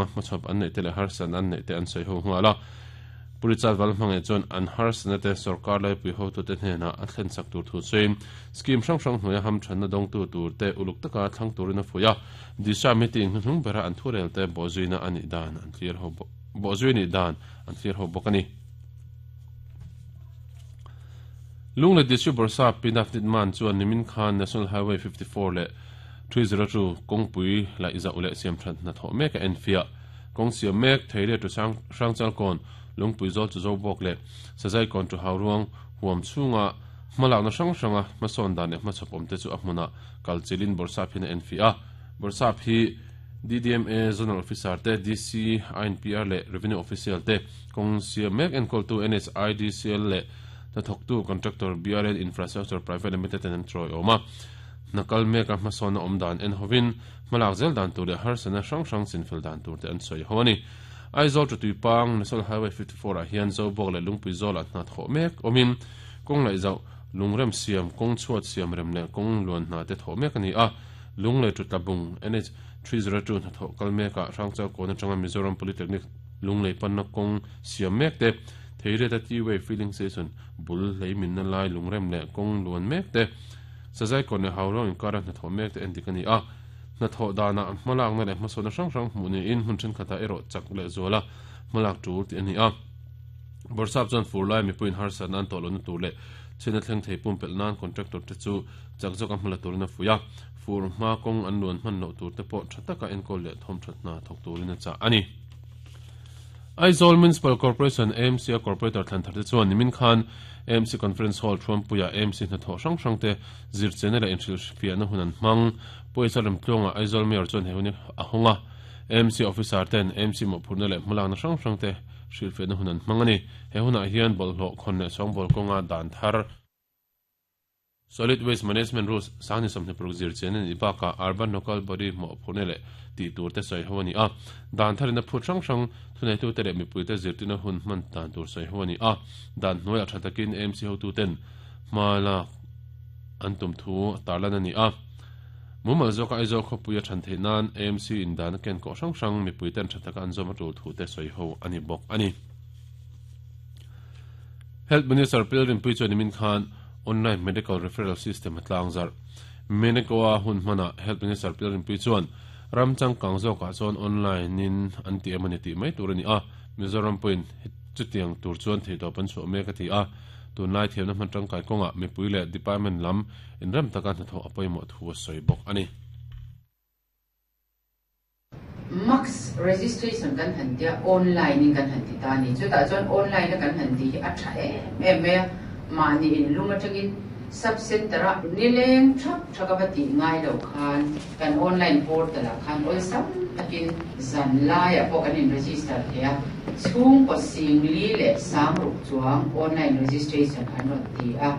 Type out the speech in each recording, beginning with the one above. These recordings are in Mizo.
chungchanga hmachhawp an neih te leh harsatna an neih te an sawi ho nghal a. Pu Richard Valhmangaih chuan an harsatna te sorkar laipui hotute hnenah a thlensak tur thu sawiin scheme hrang hrang hnuaia hamthanna dawngtu tur te uluk taka thlang turin a fuih a. Disha meeting hnuhnung bera an thurel te bawhzuina a nih dan an thlir ho bawhzui a nih dan an thlir ho bawk a ni. Lunglei District Bawrhsap Pi Navneet Mann chuan nimin khan National Highway 54 leh 302 kawngpui laih zauh leh siamthat hnathawh mek a enfiah. Kawng siam mek thei leh tu Hrangchalkawn, Lungpui zawl chu Zobawk leh Sazaikawn tu Hauruang huam chhunga hmalakna hrang hranga hmasawn dan leh hmachhawp awmte chu a hmunah kalchilhin Bawrhsap hian a enfiah a. Bawrhsap hi DDMA Zonal Officer te, DC, INPR leh Revenue Official te, kawng siam mek enkawltu NHIDCL leh hnathawktu contractor BRN Infrastructure Private Limited ten an chawiawm a. Hna kal meka hmasawnna awm dan en hovin hmalak zel dan tur leh harsatna hrang hrang chinfel dan tur te an sawi ho a ni. Aizawl Tutuipang National Highway 54 ah hian Zobawk leh Lungpui zawlah hna thawh mek awmin kawng laihzauh, lungrem siam, kawng chhuat siam rem leh kawng luan hna te thawh mek a ni a. Lunglei Tutlabung NH 302 hnathawh kal mekah Hrangchal kawn atanga Mizoram Polytechnic Lunglei panna kawng siam mek te, Theiriata T-way filling station bul hlei minna lai lungrem leh kawng luan mek te, Sazaikawn leh Hauruang inkara hnathawh mek te endik a ni a. Hnathawh danah hmalakna leh hmasawnna hrang hrang hmuh niin hmun thenkhatah erawh chak leh zuala hmalak tul tih a ni a. Bawrhsap chuan fur lai mipuiin harsatna an tawh lohna tur leh chhiatna thleng thei pumpelh nan contractor te chu chak zawka hmala turin a fuih a. Fur hma kawng an luan hman loh tur te pawh tha taka enkawl leh thawmthat hna thawk turin a chah a ni. Aizawl Municipal Corporation, AMC, a corporator thlan thar te chuan nimin khan AMC Conference Hall Thuampuiah AMC hnathawh hrang hrang te zirchianna leh inhrilhfiahna hun an hmang. Pawisa Remtluangah Aizawl Mayor chuan he hun hi a hawng a, AMC officer ten AMC mawhphurhna leh hmalakna hrang hrang te hrilhfiahna hun an hmang a ni. He hunah hian bawlhhlawh khawn leh sawngbawl kawnga dan thar, Solid Waste Management Rules sangni 26 zir chian a nih bakah Urban Local Body hmawhphurhna leh tih tur te sawi ho a ni a. Dan tharin a phut hrang hrang thuneitute leh mipuite zirtirna hun hman dan tur sawi ho a ni a. Dan hnuaiah tha takin AMC hotuten hma lak an tum thu tarlan a ni a. Mumal zawka Aizawl khawpui a than theih nan AMC in dan a ken kawh hrang hrang mipuiten tha taka an zawm a tul thu te sawi ho a ni bawk a ni. Health Minister Pilrinpui chuan nimin khan Online Medical Referral System a tlangzarh. Menegoa hun hmanah Health Minister Pilrinpui chuan ram changkang zawkah chuan online in an ti em a ni tih mai tur a ni a, Mizoram pawhin chutiang tur chuan theihtawp an chhuah mek a ti a, tunlai thiamna hman tangkai kawngah mipui leh department lam inrem taka hnathawh a pawimawh thu a sawi bawk a ni. Max registration kan han tia online in kan han ti ta a ni. Chutah chuan online a kan han tih hi a tha em em mai a, mahni in lum atangin sub center ah nileng thap thak a va tih ngai lo khan kan online portal ah khan awlsam takin zan laiah pawh kan in register thei a, chhungkaw singli leh sangruk chuang online registration an rawn ti a,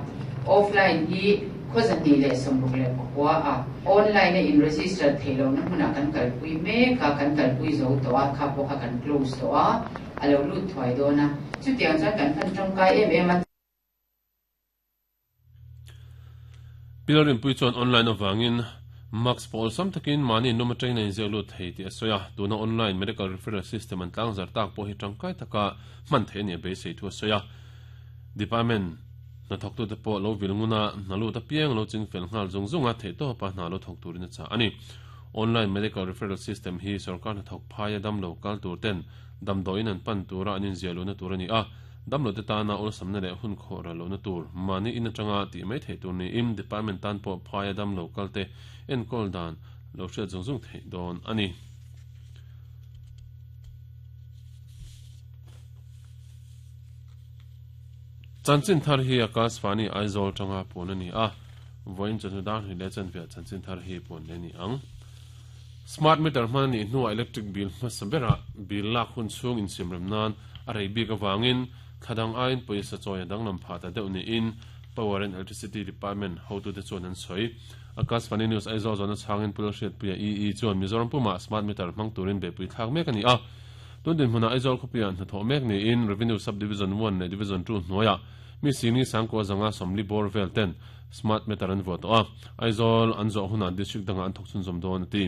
offline hi Khaw 269 a online a in register theih lohna hmunah kan kalpui mek a, kan kalpui zo tawh a, kha pawh kha kan close tawh a, a lo lut thuai dawn a, chutiang chuan kan hman tangkai em em a. Pillar Rinpui chuan online avangin mask pawh awlsam takin mahni inlum atangin a inziak lut thei tih a sawi a, tuna online medical referral system an tlangzar tak pawh hi tangkai taka hman theih a nih a beisei thu a sawi a. Department hnathawktute pawh lo vil ngun a, hna lut apiang lo ching fel nghal zung zung a, theihtawpa hna lo thawk turin a chah a ni. Online Medical Referral System hi sorkar hnathawk phaia damlo kal tur ten damdawiin an pan tura an inziah luhna tur a ni a, damlote tana awlsamna leh hun khawh ral lohna tur mahni in atanga tih mai theih tur niin Department tan pawh phaia damlo kalte enkawl dan lo hriat zung zung theih dawn a ni. Chanchin thar hi Akashvani Aizawl tanga puan a ni a, vawiin chawhnu dar hnih leh chanveah chanchin thar hi puan leh a ni ang. Smart meter hman a nih hnuah electric bill hmasa berah bill lak hun chhung insiamrem nan a rei bik avangin thla dang aiin pawisa chawi a danglam phah ta deuh niin Power and Electricity Department hotute chuan an sawi. Akashvani News Aizawl zawhna chhangin Pu Lalhriatpuia EE chuan Mizoram pumah smart meter hmang turin beihpui thlak mek a ni a, Tun dinhmunah Aizawl khawpuiah hnathawh mek niin Revenue Sub Division One leh Division Two hnuaiah mi singli sangkua zanga 40 bawr vel ten smart meter an vuah tawh a, Aizawl an zawh hunah district dangah an thawk chhunzawm dawn a ti.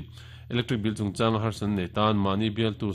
Electric bill chungchanga harsatna nei tan mahni bialtu.